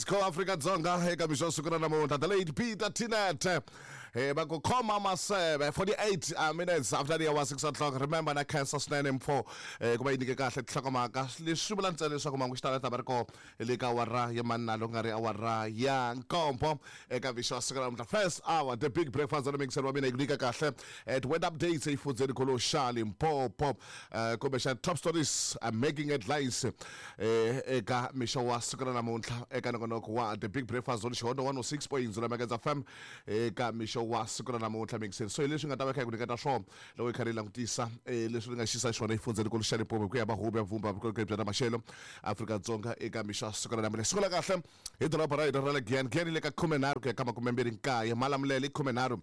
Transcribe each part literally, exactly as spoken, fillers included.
Go Afrika Dzonga eka mixo siku ra namuntlha the late Peter Tinet eh va ku khoma maseve forty-eight uh, minutes after the hour six o'clock. Remember na cancer swinene mpfo eh ku va yi nyike kahle tinhlokomhaka leswi vula ntsena leswaku mangu xitalo ta va ri kona le ka awara ya manna loko nga ri awara ya nkombo eka mixo siku ra namuntlha. First hour, the big breakfast on mixer wa mina yi ku nyika kahle at weather updates exifundzeni kholo xa Limpopo, eh kumbexana top stories uh, making headlines eh eka mixo wa siku ra namuntlha eka nongonoko wa the big breakfast zone Xihondo one oh six point zero Megahertz F M eka mixo wa siku ra namuntlha mixer. So hi leswi nga ta va kha hi ku nyiketa swona loko hi karhi hi langutisa eh leswi ri nga xisa xona exifundzeni kholo xa Limpopo ku ya va huvo ya vumba vukorhokeri bya ta maxelo Afrika-Dzonga eka mixo wa siku ra namuntlha. Sungula kahle hi doroba ra hina ra le Giyani. Giyani le ka khumenharhu ku ya ka makume mbirhi nkaye, Malamulele i khumenharhu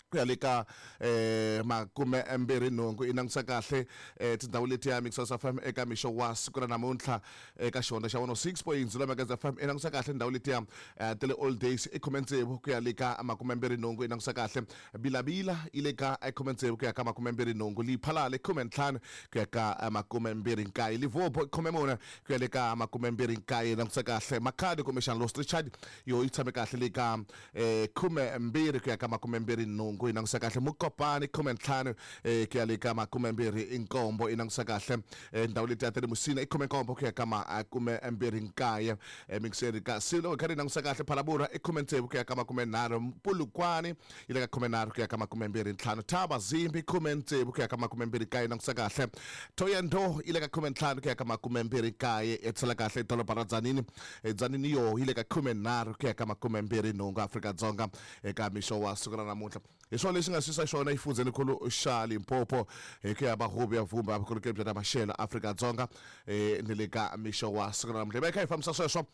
ku ya le ka eh makume mbirhi nhungu. I langutisa kahle eh tindhawu letiya Mixers F M eka mixo wa siku ra namuntlha eka xihondzo xa one oh six point zero Megahertz F M. I langutisa kahle ndhawu letiya ta le Old Days i khume tsevu ku ya le ka makume mbirhi nhungu. I langutisa kahle Bilabila yi le ka khume tsevu ku ya ka makume mbirhi nhungu, Liphalale khume ntlhanu ku ya ka makume mbirhi nkaye, Limpopo i khume mune ku ya le ka makume mbirhi nkaye. I langutisa kahle Makhadi kumbexana Lost Richard yo yi tshame kahle le ka eh khume mbirhi ku ya ka makume mbirhi nhungu. I langutisa kahle Mokopane khume ntlhanu eh ku ya le ka makume mbirhi nkombo. I langutisa kahle ndhawu letiya ta le Musina i khume nkombo ku ya ka makume mbirhi nkaye. Mixeri kasi loko hi karhi hi langutisa kahle Phalaborwa i khume tsevu ku ya ka makume nharhu, Polokwane yi le ka khume nharhu ku ya ka makume mbirhi ntlhanu, Thaba Zimbi khume tsevu ku ya ka makume mbirhi nkaye. Langutisa kahle Thohoyandou yi le ka khume ntlhanu ku ya ka makume mbirhi nkaye. I tsala kahle doroba ra Dzanini, Dzanini yo yi le ka khume nharhu ku ya ka makume mbirhi nhungu. Afrika-Dzonga eka mixo wa siku ra namuntlha hi swona leswi nga xisa xona exifundzeni kholo xa Limpopo hi ku ya va huvo ya vumba vukorhokeri bya ta maxelo Afrika-Dzonga eh ni le ka mixo wa siku ra namuntlha. Hi va hi kha hi fambisa sweswo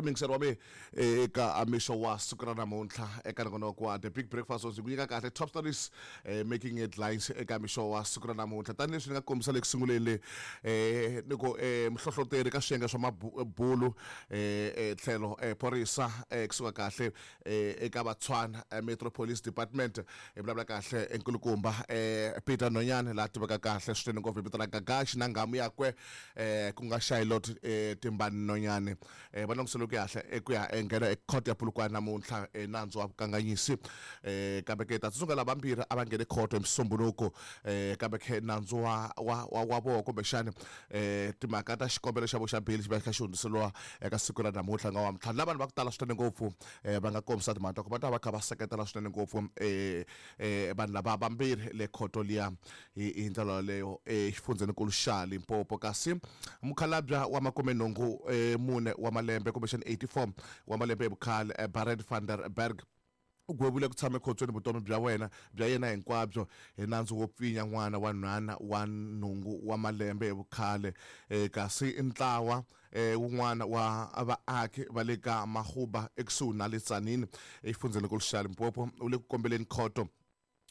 mixer wa me eka mixo wa siku ra namuntlha eka nongonoko wa the big breakfast ndzi ku nyika kahle top stories eh, making headlines eka mixo wa siku ra namuntlha. Tanihileswi ni nga kombisa le ku sunguleni le eh ni ku eh muhlohloteri ka swiyenge swa mabulu eh tlhelo eh phorisa eh kusuka kahle eh eka Vatswana Metro Police Department hi vulavula kahle enkulukumba eh Peter Nonyane la tiveka kahle swinene ngopfu hi vito ra Gagashi na nghamu yakwe eh ku nga Charlotte eh Timbani Nonyane eh va langutisele ku kahle ku ya nghena ekhoto ya Polokwane namuntlha nandzu wa vukanganyisi eh kambe ke ta tsundzuka lava vambirhi a va nghene khoto hi Musumbhunuku eh kambe ke nandzu wa wa wa vona kumbexana eh timhaka ta xikombelo xa vo xa beli xi va kha xi hundziseriwa eka siku ra namuntlha nga wa ntlhanu. La vanhu va ku tala swinene ngopfu eh va nga kombisa timhaka ta ku va ta va kha va seketela swinene ngopfu eh eh vanhu lava vambirhi le khoto liya hi hi ndlela yaleyo exifundzhenikulu xa Limpopo. Kasi mukhalabya wa makume nhungu mune wa malembe kumbexana eighty-four wa malembe hi vukhale Barend van der Berg u gwevile ku tshama ekhotsweni vutomi bya wena bya yena hinkwabyo hi nandzu wo pfinya n'wana wa nhwana wa nhungu wa malembe hi vukhale. Kasi ntlawa wun'wana wa vaaki va le ka Mahuba ekusuhi na le Tzaneen exifundzhenikulu xa Limpopo u le ku kombeleni khoto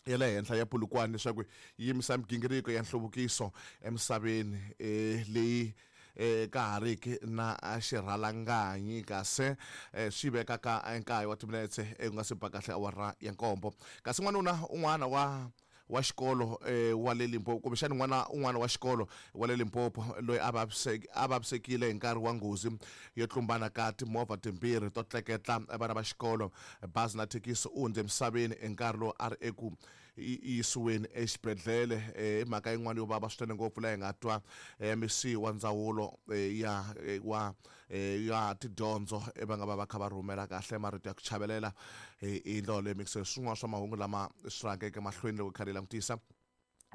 ya le henhla ya Polokwane leswaku yi yimisa migingiriko ya nhluvukiso emisaveni eh leyi eh ka ha riki na xirhalanganyi. Kasi swi veka ka nkaye wa timinetse ku nga se ba kahle awara ya nkombo. Kasi n'wanuna un'wana wa wa xikolo eh wa le Limpopo kumbexana n'wana un'wana wa xikolo wa le Limpopo loyi a vaviseke a vavisekile hi nkarhi wa nghozi yo tlumbana ka timovha timbirhi to tleketla vana va xikolo bazi na thekisi u hundze emisaveni hi nkarhi lowu a ri eku yisiweni exibedhlele. I mhaka yin'wana yo vava swinene ngopfu laha hi nga twa M C wa ndzawulo ya wa ya tidyondzo va nga va va kha va rhumela kahle marito ya ku chavelela hi ndlela leyi mixer swin'wana swa mahungu lama swi rhangeke mahlweni loko hi karhi hi langutisa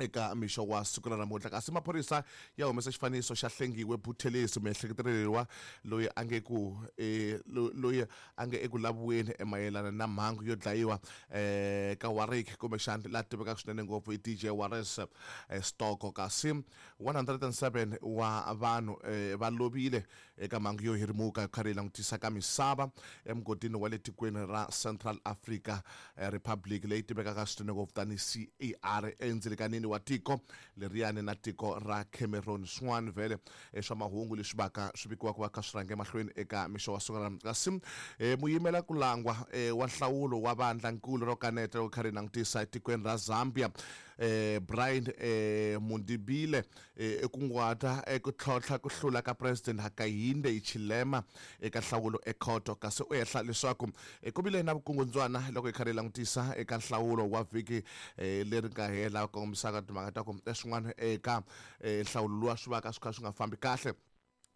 eka mixo wa siku ra namuntlha. Kasi maphorisa ya humesa xifaniso xa Hlengiwe Buthelezi miehleketeleriwa loyi a nge ku eh, loyi a nge eku laviweni mayelana na mhangu yo dlayiwa eh, ka Warwick kumbexana la tivekaka swinene ngopfu hi D J Waris eh, Stoko. Kasi one hundred and seven wa vanhu eh, va lovile eka mhangu yo hirimuka karhi hi langutisa ka misava emugodini wa le tikweni ra Central Africa eh, Republic leyi tivekaka swinene ngopfu tanihi C A R endzilikanini wa tiko leriyani na tiko ra Cameroon. Swin'wana vhele swa mahungu leswi vaka swi vikiwaka va kha swi rhange mahlweni eka mixo wa siku ra namuntlha. Kasi eh, muyimela ku langwa eh, wa nhlawulo wa vandlankulu ro kaneta loko kha ri langutisa etikweni ra Zambia eh Brian eh Mundibile eh kunguhata eku tlhontlha ku hlula ka President Hakainde Hichilema eka nhlawulo ekhoto kasi u ehla leswaku ku vile na vukungundzwana loko hi karhi hi langutisa eka nhlawulo wa vhiki leri nga hela kongomisaka timhaka ta ku swin'wana eka nhlawulo luwa swi va ka swi kha swi nga fambi kahle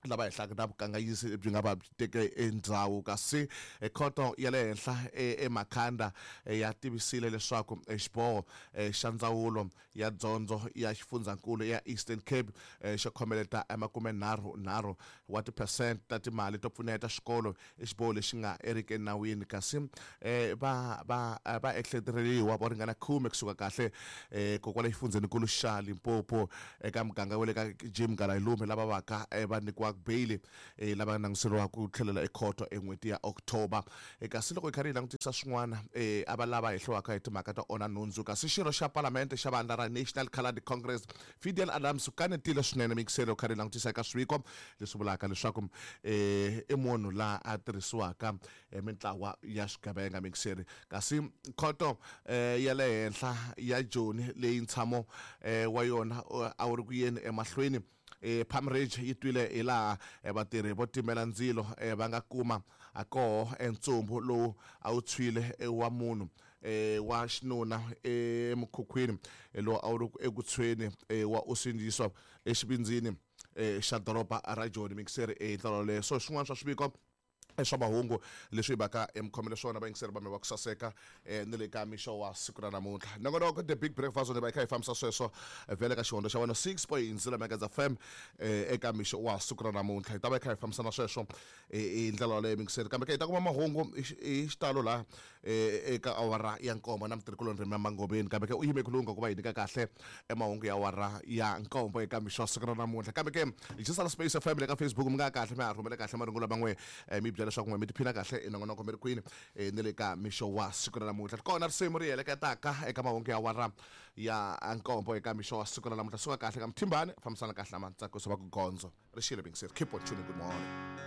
lava hehlaka na vukanganyisi byi nga va byi teke endzhaku kasi khoto ya le henhla eMakhanda ya tivisile leswaku xiboho xa ndzawulo ya dyondzo ya xifundzankulu ya Eastern Cape xo khomeleta emakumenharhu nharhu wa tiphesente ta timali to pfuneta xikolo i xiboho lexi nga eriki enawini kasi va va va ehleketeleriwa vo ringana khume kusuka kahle kokwala xifundzenikulu xa Limpopo eka muganga wa le ka Jim Galayilume lava vaka va nyikiwa bail eh lava languteriwa ku tlhelela ekhoto en'hweti ya October kasi loko hi karhi hi langutisa swin'wana eh a va lava hehliwaka hi timhaka ta onha nhundzu kasi xirho xa palamende xa vandla ra National Coloured Congress Fidel Adams u kanetile swinene mixelo karhi hi langutisa eka swiviko leswi vulaka leswaku eh i munhu laha a tirhisiwaka mintlawa ya swigevenga mixeri kasi khoto eh ya le henhla ya Joni leyi ntshamo wa yona a wu ri ku yeni emahlweni eh Palm Ridge yi twile hi laha vatirhi vo timela ndzilo va nga kuma a koho entsumbu lowu a wu tshwile wa munhu eh wa xinuna emukhukhwini lowu a wu ri eku tshweni wa usindziswa exivindzini xa doroba ra Joni mixeri hi ndlela yoleyo so swin'wana swa swiviko swa mahungu leswi hi vaka emikhomele swona vayingiseri va me va ku saseka ni le ka mixo wa siku ra namuntlha nongonoko The Big Breakfast ni va hi kha hi fambisa sweswo vhele ka xihondlo xa wena six point zero Megahertz F M eka mixo wa siku ra namuntlha hi ta va hi kha hi fambisa na sweswo hi ndlela yoleyo mixeri kambe ke hi ta kuma mahungu hi xitalo laha eka awara ya nkombo na mutirhikuloni Rima Mangobeni kambe ke u yime ku lungha ku va hi nyika kahle emahungu ya awara ya nkombo eka mixo wa siku ra namuntlha kambe ke hi xisala Space F M le ka Facebook mi nga kahle mi ha rhumele kahle marungulo man'we mi byela leswaku n'we mi tiphina kahle i nongonoko mi ri kwini ni le ka mixo wa siku ra namuntlha kona risimu ri heleketaka eka mahungu ya awara ya nkombo eka mixo wa siku ra namuntlha suka kahle ka mthimbani fambisana kahle na matsakiso va ku gondzo ri xile bingiseri keep on tuning good morning.